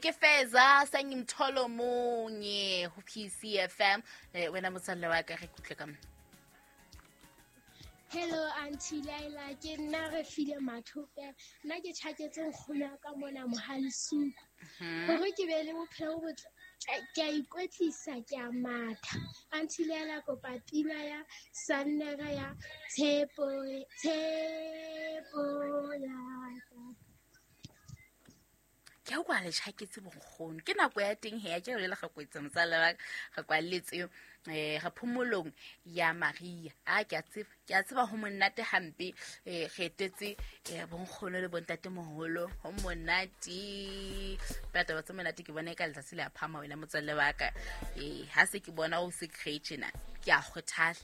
Ke feza sangimtholo munye ho PCFM. Wena motswalle wa ka, re kutlwe ka mo. Hello, Auntie Laila, ke nna re file mathope. Nna ke tjhaketse nkgono ya ka mona Mohalisuku. Hore ke be le bophelo bo botle, ke a ikwetlisa, ke a matha. Auntie Laila, kopa pina ya Sannere ya Tshepo, Tshepo ya ka. Ke a kwa le tjhaketse bonkgono, ke nako ya teng he ya ke le ga kwetse motswalle wa ka, re kwalletse re phomolong ya Maria. A ke a tseba, ke a tseba ho monate hampe. Re etetse bonkgono le bontate moholo, ho monate. Pela taba tse monate ke bona e ka letsatsi le a phama, wena motswalle wa ka. Ha se ke bona o se create na, ke a kgothala.